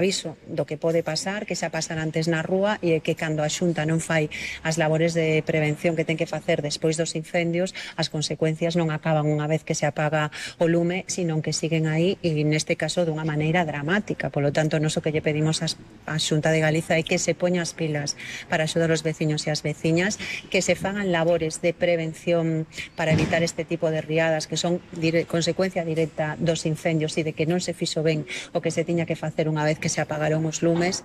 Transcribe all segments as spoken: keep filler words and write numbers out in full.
aviso do que pode pasar, que xa pasar antes na rúa e que cando a Xunta non fai as labores de prevención que ten que facer despois dos incendios, as consecuencias non acaban unha vez que se apaga o lume, sino que siguen aí e neste caso dunha maneira dramática. Polo tanto, noso que lle pedimos á Xunta de Galiza é que se poña as pilas para axudar os veciños e as veciñas, que se fagan labores de prevención para evitar este tipo de riadas que son dire- consecuencia directa dos incendios e de que non se fixo ben o que se tiña que facer unha vez que se apagaron os lumes.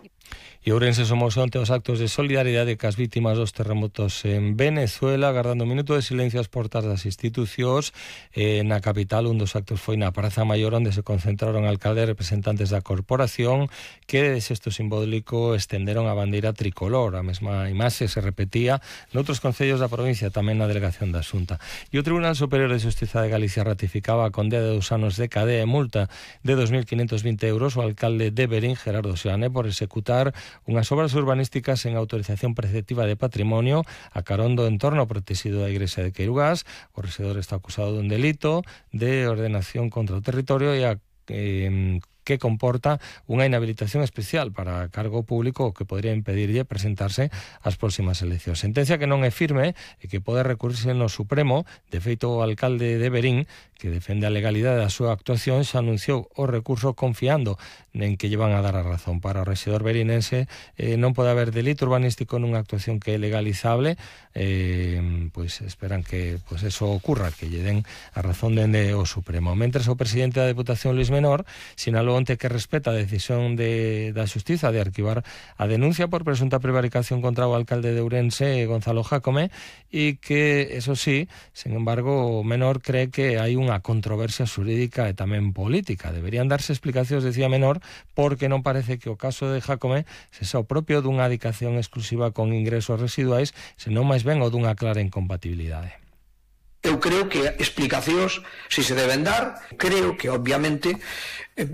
E Ourense somos onte os actos de solidaridade cas vítimas dos terremotos en Venezuela, agardando un minuto de silencio ás portas das institucións. Eh, na capital, un dos actos foi na Praza Maior, onde se concentraron alcaldes e representantes da corporación que, de xesto simbólico, estenderon a bandeira tricolor. A mesma imaxe se repetía noutros concellos da provincia, tamén na delegación da Xunta. E o Tribunal Superior de Xustiza de Galicia ratificaba a condena de dous anos de cadea e multa de dos mil quinientos vinte euros ao alcalde de Verín, Gerardo Seoane, por executar unhas obras urbanísticas en autorización preceptiva de patrimonio a carón do entorno protegido da igrexa de Queirugás. O rexedor está acusado dun delito de ordenación contra o territorio e a eh, que comporta unha inhabilitación especial para cargo público que podría impedirlle presentarse ás próximas eleccións. Sentencia que non é firme e que pode recurrirse no Supremo. De feito, o alcalde de Verín, que defende a legalidade da súa actuación, xa anunciou o recurso confiando en que lle van a dar a razón. Para o rexedor verinense eh, non pode haber delito urbanístico nunha actuación que é legalizable. Eh, pois esperan que pois eso ocurra, que lle den a razón dende o Supremo. Mentres, o presidente da Deputación, Luís Menor, sinalou onte que respeta a decisión de, da Xustiza de arquivar a denuncia por presunta prevaricación contra o alcalde de Ourense, Gonzalo Jácome, e que, eso sí, sin embargo, Menor cree que hai unha controversia xurídica e tamén política. Deberían darse explicacións, decía Menor, porque non parece que o caso de Jácome sexa o propio dunha adicación exclusiva con ingresos residuais, senón máis ben o dunha clara incompatibilidade. Eu creo que explicacións si se deben dar, creo que obviamente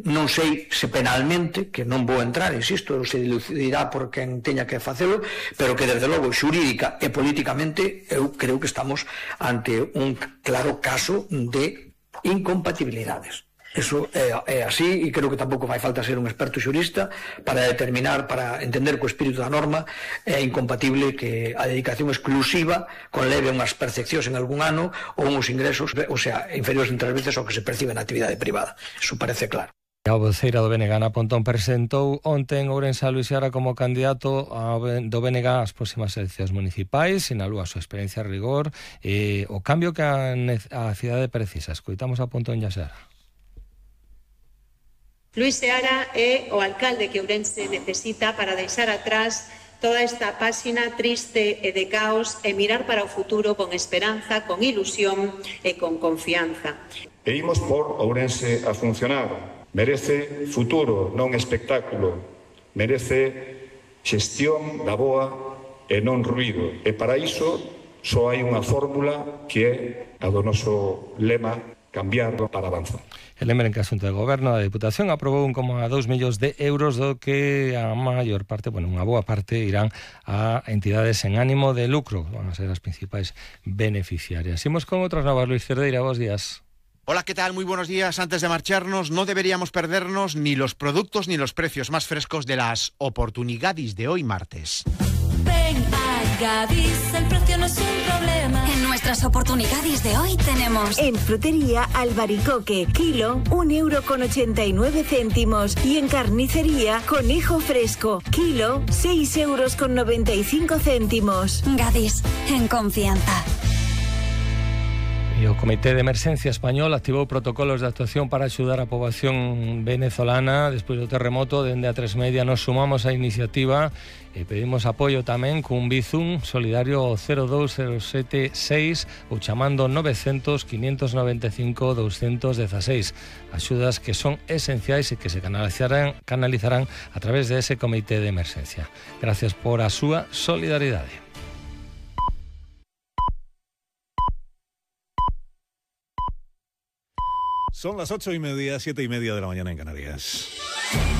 non sei se penalmente, que non vou entrar, insisto, se dilucidirá por quen teña que facelo, pero que desde logo xurídica e políticamente eu creo que estamos ante un claro caso de incompatibilidades. Eso é, é así e creo que tampouco fai falta ser un experto xurista para determinar, para entender que o espírito da norma é incompatible que a dedicación exclusiva conleve unhas percepcións en algún ano ou uns ingresos, o sea, inferiores en tres veces ao que se percibe na actividade privada. Eso parece claro. A voceira do B N G, Ana Pontón, presentou onte en Ourense a Luís Seara como candidato do B N G ás próximas eleccións municipais, sinalou a súa experiencia a rigor e o cambio que a, a cidade precisa. Escoitamos a Pontón e a Seara. Luís Seara é o alcalde que Ourense necesita para deixar atrás toda esta páxina triste e de caos e mirar para o futuro con esperanza, con ilusión e con confianza. E imos por Ourense a funcionar. Merece futuro, non espectáculo. Merece xestión da boa e non ruído. E para iso só hai unha fórmula que é a do noso lema: cambiar para avanzar. E lembren que a Xunta de Goberno da Deputación aprobou un coma dous millóns de euros, do que a maior parte, bueno, unha boa parte, irán a entidades en ánimo de lucro. Van a ser as principais beneficiarias. Imos con outras novas. Luis Cerdeira, bons días. Hola, ¿qué tal? Muy buenos días. Antes de marcharnos, no deberíamos perdernos ni los productos ni los precios más frescos de las oportunidades de hoy martes. Ven a Gadis, el precio no es un problema. En nuestras oportunidades de hoy tenemos... En frutería, albaricoque, kilo, un euro con ochenta y nueve céntimos. Y en carnicería, conejo fresco, kilo, seis euros con noventa y cinco céntimos. Gadis, en confianza. E o Comité de Emerxencia Español activou protocolos de actuación para axudar a poboación venezolana despois do terremoto. Dende a tres media nos sumamos á iniciativa e pedimos apoio tamén cun Bizum solidario ao cero dous cero sete seis ou chamando novecientos, quinientos noventa e cinco, doscientos dieciséis. Axudas que son esenciais e que se canalizarán, canalizarán a través de ese Comité de Emerxencia. Gracias por a súa solidaridade. Son las ocho y media, siete y media de la mañana en Canarias.